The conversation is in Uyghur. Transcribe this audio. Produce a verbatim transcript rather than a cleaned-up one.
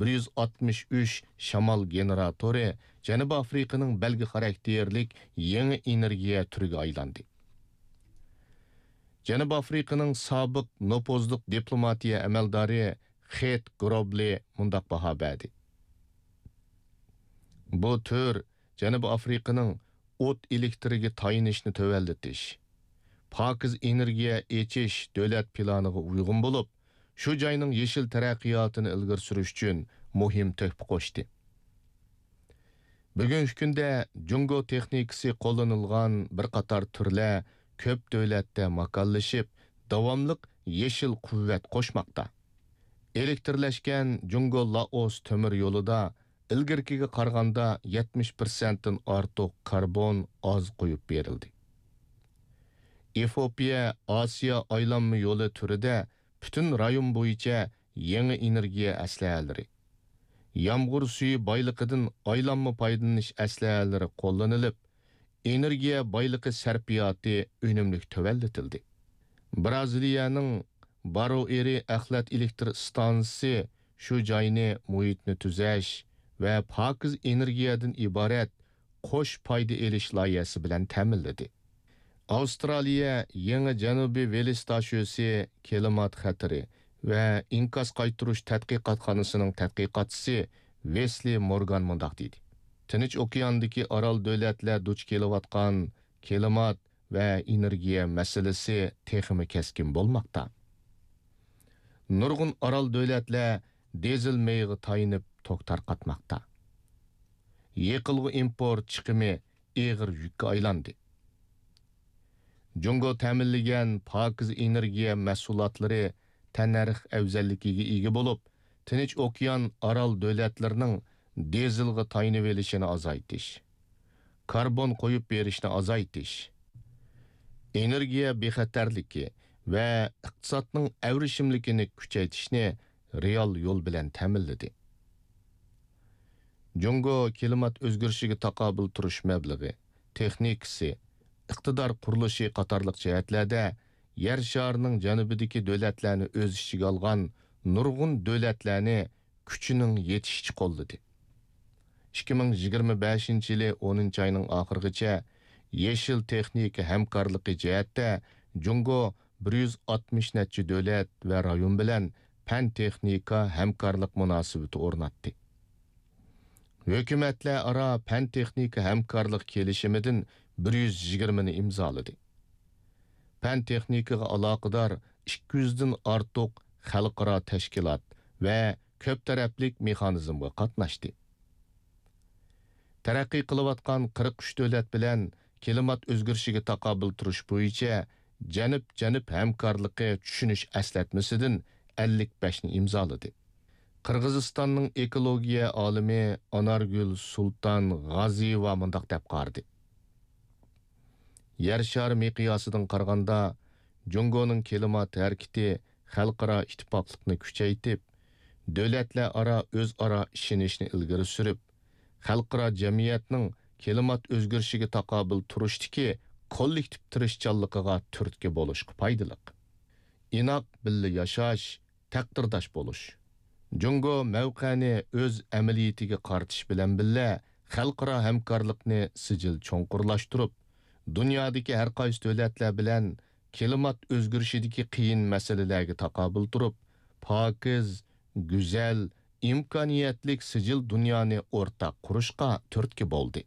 بىر يۈز ئاتمىش ئۈچ شامال گېنېراتورى جەنۇبىي ئافرىقىنىڭ بەلگە خاراكتېرلىك يېڭى ئېنېرگىيە تۈرىگە ئايلاندى. جەنۇبىي ئافرىقىنىڭ سابىق نوپۇزلۇق دىپلوماتىيە ئەمەلدارى خېت گروبلى مۇنداق باھا بەردى: بۇ تۈر جەنۇبىي ئافرىقىنىڭ ئوت ئېلېكتىرىگە تايىنىشنى تۆۋەنلىتىش، پاكىز ئېنېرگىيە ئېچىش دۆلەت پىلانىغا ئۇيغۇن بولۇپ، شۇ جاينىڭ يېشىل تەرەققىياتىنى ئىلگىرى سۈرۈش ئۈچۈن مۇھىم تۆھپە قوشتى. بۈگۈنكى كۈندە جۇڭگو تېخنىكىسى قوللىنىلغان بىر قاتار تۈرلەر كۆپ دۆلەتتە ماكانلىشىپ، داۋاملىق يېشىل قۇۋۋەت قوشماقتا. ئېلېكتىرلەشكەن جۇڭگو لائوس تۆمۈر يولىدا ئىلگىرىكىگە قارىغاندا يەتمىش پىرسەنتتىن ئارتۇق كاربون ئاز قويۇپ بېرىلدى. ئېفىئوپىيە ئاسىيا ئايلانما يولى تۈرىدە پۈتۈن رايون بويىچە يېڭى ئېنېرگىيە ئەسلىھەلىرى، يامغۇر سۈيى بايلىقىدىن ئايلانما پايدىلىنىش ئەسلىھەلىرى قوللىنىلىپ، ئېنېرگىيە بايلىقى سەرپىياتى ئۈنۈملۈك تۆۋەنلىتىلدى. بىرازىلىيەنىڭ بارۇئېرى ئەخلەت ئېلېكتر ئىستانسىسى شۇ جاينى مۇھىتنى تۈزەش ۋە پاكىز ئېنېرگىيەدىن ئىبارەت قوش پايدا ئېلىش لايىھەسى بىلەن تەمىنلىدى. ئاۋسترالىيە يېڭى جەنۇبىي ۋېلىستاشۆسى كىلىمات خەتىرى ۋە ئىنكاس قايتۇرۇش تەتقىقاتخانىسىنىڭ تەتقىقاتچىسى ۋېسلى مورگان مۇنداق دېدى: تىنچ ئوكياندىكى ئارال دۆلەتلەر دۇچ كېلىۋاتقان كىلىمات ۋە ئېنېرگىيە مەسىلىسى تېخىمۇ كەسكىن بولماقتا. نۇرغۇن ئارال دۆلەتلەر دىزېل مېيىغا تايىنىپ توك تارقاتماقتا. يېقىلغۇ ئىمپورت چىقىمى ئېغىر يۈككە ئايلاندى. جۇڭگو تەمىنلىگەن پاكىز ئېنېرگىيە مەھسۇلاتلىرى تەننەرخ ئەۋزەللىكىگە ئىگە بولۇپ، تىنچ ئوكيان ئارال دۆلەتلىرىنىڭ دىزېلغا تايىنىۋېلىشىنى ئازايتىش، كاربون قويۇپ بېرىشنى ئازايتىش، ئېنېرگىيە بىخەتەرلىكى ۋە ئىقتىسادنىڭ ئەۋرىشىملىكىنى كۈچەيتىشنى رېئال يول بىلەن تەمىنلىدى. جۇڭگو كىلىمات ئۆزگىرىشىگە تاقابىل تۇرۇش مەبلىغى، تېخنىكىسى، ئىقتىدار قۇرۇلۇشى قاتارلىق جەھەتلەردە يەر شارىنىڭ جەنۇبىدىكى دۆلەتلەرنى ئۆز ئىچىگە ئالغان نۇرغۇن دۆلەتلەرنى كۈچىنىڭ يېتىشىچە قوللىدى. ئىككى مىڭ يىگىرمە بەشىنچى يىلى ئونىنچى ئاينىڭ ئاخىرىغىچە يېشىل تېخنىكا ھەمكارلىقى جەھەتتە جۇڭگو بىر يۈز ئاتمىش نەچچە دۆلەت ۋە رايون بىلەن پەن-تېخنىكا ھەمكارلىق مۇناسىۋىتى ئورناتتى. ھۆكۈمەتلەر ئارا پەن-تېخنىكا ھەمكارلىق كېلىشىمىدىن بىر يۈز يىگىرمىنى ئىمزالىدى. پەن-تېخنىكىغا ئالاقىدار ئىككى يۈزدىن ئارتۇق خەلقئارا تەشكىلات ۋە كۆپ تەرەپلىك مېخانىزمغا قاتناشتى. تەرەققىي قىلىۋاتقان قىرىق ئۈچ دۆلەت بىلەن كىلىمات ئۆزگىرىشىگە تاقابىل تۇرۇش بويىچە جەنۇب-جەنۇب ھەمكارلىقى چۈشىنىش ئەسلەتمىسىدىن ئەللىك بەشنى ئىمزالىدى. قىرغىزىستاننىڭ ئېكولوگىيە ئالىمى ئانارگۈل سۇلتان غازىيېۋا مۇنداق دەپ قارىدى: يەر شارى مىقياسىدىن قارىغاندا، جۇڭگونىڭ كىلىمات ھەرىكىتى خەلقئارا ئىتتىپاقلىقنى كۈچەيتىپ، دۆلەتلەر ئارا ئۆزئارا ئىشىنىشنى ئىلگىرى سۈرۈپ، خەلقئارا جەمئىيەتنىڭ كىلىمات ئۆزگىرىشىگە تاقابىل تۇرۇشتىكى كوللېكتىپ تىرىشچانلىقىغا تۈرتكە بولۇشقا پايدىلىق. ئىناق بىللە ياشاش، تەقدىرداش بولۇش. جۇڭگو مەۋقەنى ئۆز ئەمەلىيىتىگە قارىتىش بىلەن بىللە، خەلقئارا ھەمكارلىقنى سىجىل چوڭقۇرلاشتۇرۇپ، دۇنيادىكى ھەر قايسى دۆلەتلەر بىلەن كىلىمات ئۆزگىرىشىدىكى قىيىن مەسىلىلەرگە تاقابىل تۇرۇپ، پاكىز، گۈزەل، ئىمكانىيەتلىك سىجىل دۇنيانى ئورتاق قۇرۇشقا تۈرتكە بولدى.